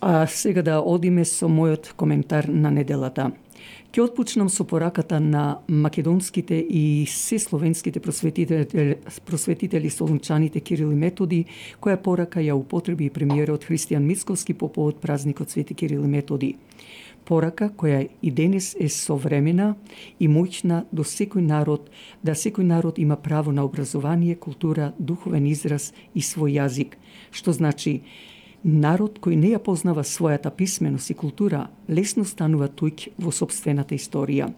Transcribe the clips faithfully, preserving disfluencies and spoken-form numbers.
А сега да одиме со мојот коментар на неделата. Ќе отпочнам со пораката на македонските и се словенските просветители, просветители солунчаните Кирил и Методи, која порака ја употреби и премиерот Христијан Мицковски по повод празникот Свети Кирил и Методи. Порака која и денес е современа и моќна до секој народ, да секој народ има право на образование, култура, духовен израз и свој јазик, што значи народ кој не ја познава својата писменост и култура, лесно станува туѓ во сопствената историја.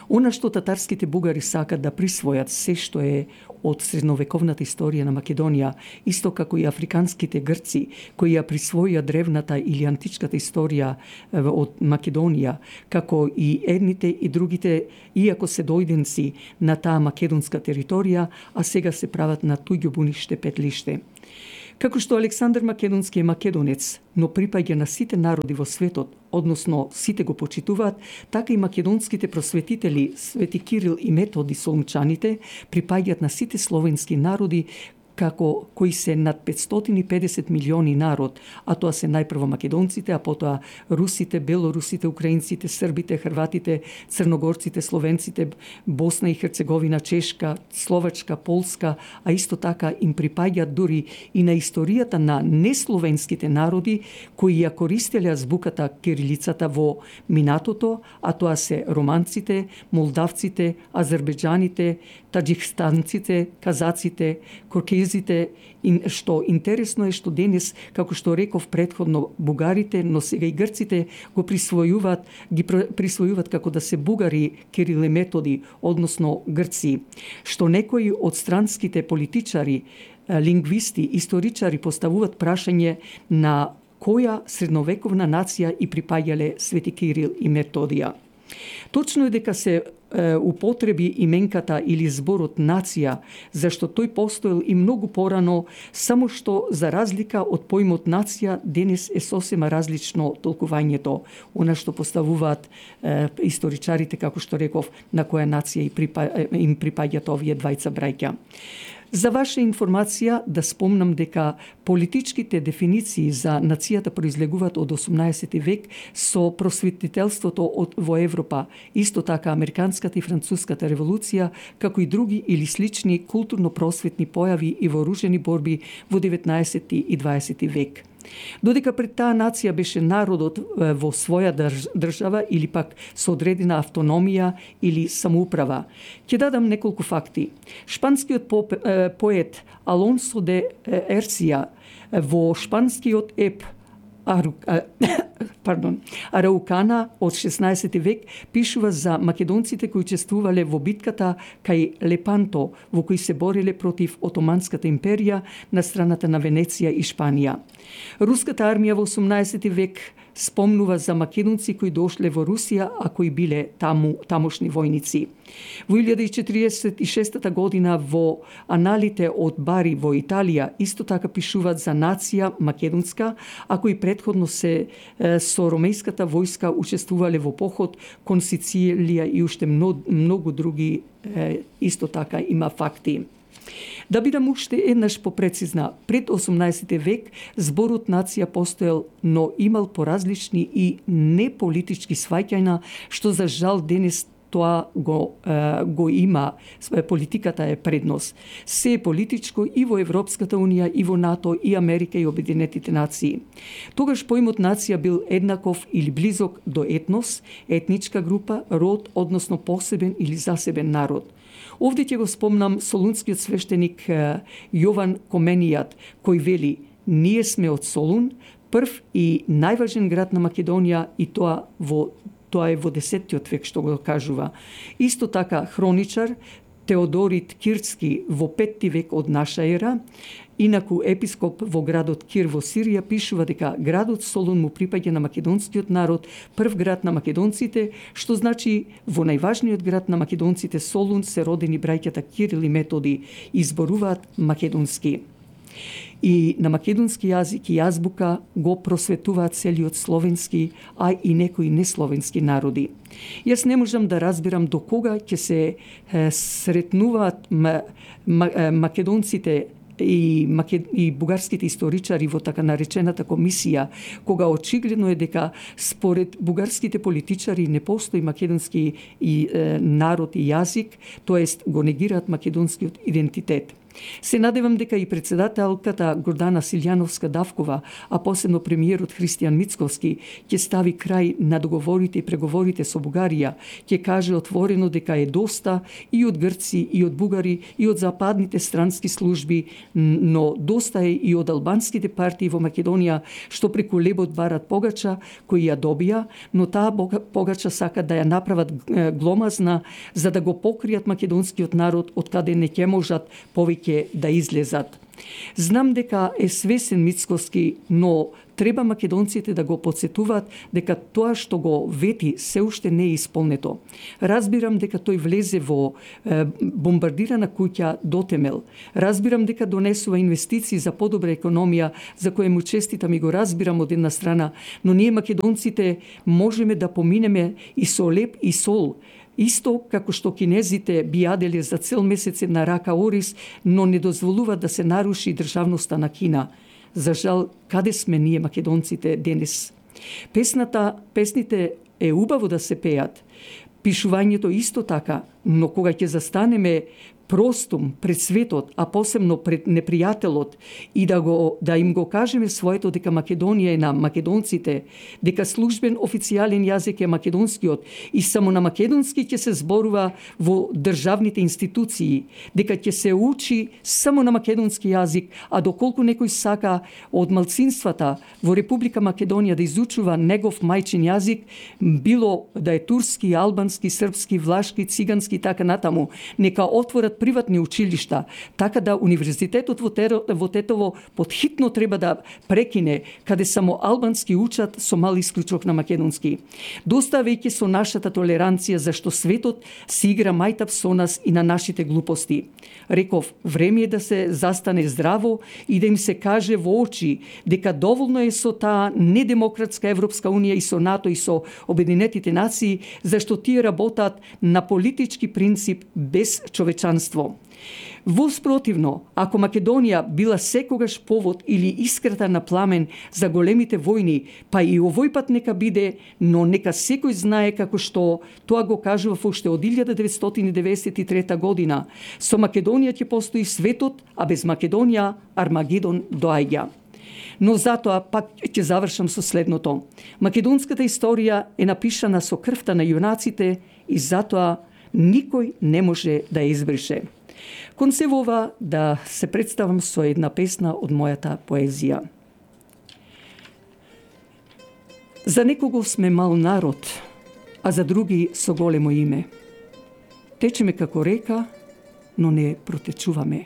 Она што татарските бугари сакат да присвојат се што е од средновековната историја на Македонија, исто како и африканските грци кои ја присвоија древната или античката историја од Македонија, како и едните и другите, иако се дојденци на таа македонска територија, а сега се прават на туѓо буниште петлиште. Како што Александар Македонски е македонец, но припаѓа на сите народи во светот, односно сите го почитуваат, така и македонските просветители Свети Кирил и Методи солунчаните припаѓаат на сите словенски народи, како кои се над петстотини и педесет милиони народ, а тоа се најпрво македонците, а потоа русите, белорусите, украинците, србите, хрватите, црногорците, словенците, Босна и Херцеговина, Чешка, Словачка, Полска, а исто така им припаѓаат дури и на историјата на несловенските народи кои ја користеле азбуката кирилицата во минатото, а тоа се романците, молдавците, азербеџаните, таџикстанците, казаците, коркезите, што интересно е што денес, како што реков предходно, бугарите, но сега и грците го присвојуваат, ги присвојуваат како да се бугари Кирил и Методи, односно грци, што некои од странските политичари, лингвисти, историчари поставуваат прашање на која средновековна нација и припаѓале Свети Кирил и Методија. Точно е дека се е, употреби именката или зборот нација, зашто тој постоел и многу порано, само што за разлика од поимот нација денес е сосема различно толкувањето, она што поставуваат е, историчарите, како што реков, на која нација им припаѓаат овие двајца браќа. За ваша информација да спомнам дека политичките дефиниции за нацијата произлегуваат од осумнаесети век со просветителството од во Европа, исто така американската и француската револуција, како и други или слични културно-просветни појави и вооружени борби во деветнаесети и дваесети век. Додека пред таа нација беше народот во своја држава или пак со одредена автономија или самоуправа. Ќе дадам неколку факти. Шпанскиот поет Алонсо де Ерсија во шпанскиот еп Ару, а, пардон, Араукана од шеснаесети век пишува за македонците кои учествувале во битката кај Лепанто, во кои се бореле против Отоманската империја на страната на Венеција и Шпанија. Руската армија во осумнаесети век спомнува за македонци кои дошле во Русија, а кои биле таму тамошни војници. Во илјада и четириесет и шеста година во аналите од Бари во Италија исто така пишуваат за нација македонска, а кои предходно се е, со ромејската војска учествувале во поход кон Сицилија и уште многу, многу други е, исто така има факти. Да бидам уште еднаш попрецизна, пред осумнаесети век зборот нација постоел, но имал поразлични и неполитички сваќања, што за жал денес тоа го, е, го има, политиката е предност. Се е политичко и во Европската унија, и во НАТО, и Америка, и Обединетите нации. Тогаш поимот нација бил еднаков или близок до етнос, етничка група, род, односно посебен или засебен народ. Овде ќе го спомнам солунскиот свештеник Јован Коменијат, кој вели: ние сме од Солун, прв и најважен град на Македонија, и тоа во тоа е во десеттиот век што го кажува. Исто така хроничар Теодорит Кирски во петти век од наша ера, инаку епископ во градот Кир во Сирија пишува дека градот Солун му припаѓа на македонскиот народ, прв град на македонците, што значи во најважниот град на македонците Солун се родени браќата Кирил и Методи и зборуваат македонски. И на македонски јазик и азбука го просветуваат целиот словенски, а и некои несловенски народи. Јас не можам да разбирам до кога ќе се е, сретнуваат м- м- македонците и, макед... и бугарските историчари во така наречената комисија, кога очигледно е дека според бугарските политичари не постои македонски и, е, народ и јазик, тоест го негираат македонскиот идентитет. Се надевам дека и председателката Гордана Силјановска-Давкова, а посебно премиерот Христијан Мицковски, ќе стави крај на договорите и преговорите со Бугарија, ќе каже отворено дека е доста и од грци, и од бугари, и од западните странски служби, но доста е и од албанските партии во Македонија, што преку лебот барат погача, кои ја добија, но таа погача сакат да ја направат гломазна, за да го покријат македонскиот народ, од каде не ќе можат повеќе да излезат. Знам дека е свесен Мицковски, но треба македонците да го подсетуваат дека тоа што го вети се уште не е исполнето. Разбирам дека тој влезе во е, бомбардирана куќа до темел. Разбирам дека донесува инвестиции за подобра економија, за која му честитам и го разбирам од една страна, но ние македонците можеме да поминеме и со леп и сол. Исто како што кинезите би јаделе за цел месец една рака ориз, но не дозволува да се наруши државноста на Кина. За жал, каде сме ние македонците денес? Песната, песните е убаво да се пеат. Пишувањето исто така, но кога ќе застанеме простум пред светот, а посебно пред непријателот и да го да им го кажеме своето дека Македонија е на македонците, дека службен официјален јазик е македонскиот и само на македонски ќе се зборува во државните институции, дека ќе се учи само на македонски јазик, а доколку некој сака од малцинствата во Република Македонија да изучува негов мајчин јазик, било да е турски, албански, српски, влашки, цигански така натаму, нека отворат приватни училишта, така да Универзитетот во, Теро, во Тетово подхитно треба да прекине, каде само албански учат со мал исклучок на македонски. Доста веќе со нашата толеранција, зашто светот си игра мајтап со нас и на нашите глупости. Реков, време е да се застане здраво и да им се каже во очи дека доволно е со таа недемократска Европска Унија и со НАТО и со Обединетите нации, зашто тие работат на политички принцип без човечанство. Воспротивно, ако Македонија била секогаш повод или искрата на пламен за големите војни, па и овој пат нека биде, но нека секој знае како што тоа го кажува уште од илјада деветстотини деветдесет и трета година. Со Македонија ќе постои светот, а без Македонија Армагедон доаѓа. Но затоа пак ќе завршам со следното. Македонската историја е напишана со крвта на јунаците и затоа никој не може да ја избрише. Кон се ова да се представам со една песна од мојата поезија. За некого сме мал народ, а за други со големо име. Течеме како река, но не протечуваме.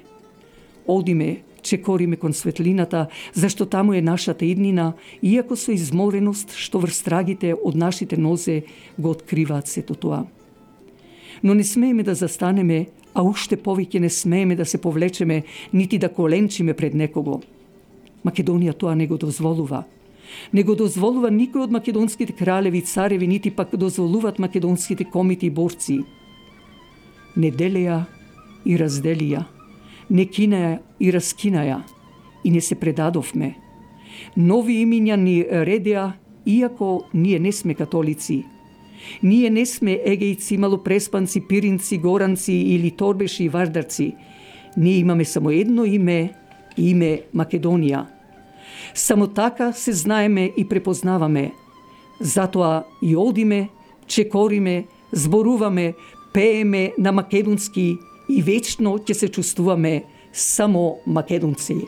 Одиме, чекориме кон светлината, зашто таму е нашата иднина, иако со измореност што врстрагите од нашите нозе го откриваат сето тоа. Но не смееме да застанеме, а уште повеќе не смееме да се повлечеме, нити да коленчиме пред некого. Македонија тоа не го дозволува. Не го дозволува никој од македонските кралеви, цареви, нити пак дозволуваат македонските комити и борци. Не делеја и разделија, не кинаја и раскинаја, и не се предадовме. Нови имиња ни редеа, иако ние не сме католици. Ние не сме егејци, малопреспанци, пиринци, горанци или торбеши и вардарци. Ние имаме само едно име, име Македонија. Само така се знаеме и препознаваме. Затоа и одиме, чекориме, зборуваме, пееме на македонски и вечно ќе се чувствуваме само македонци.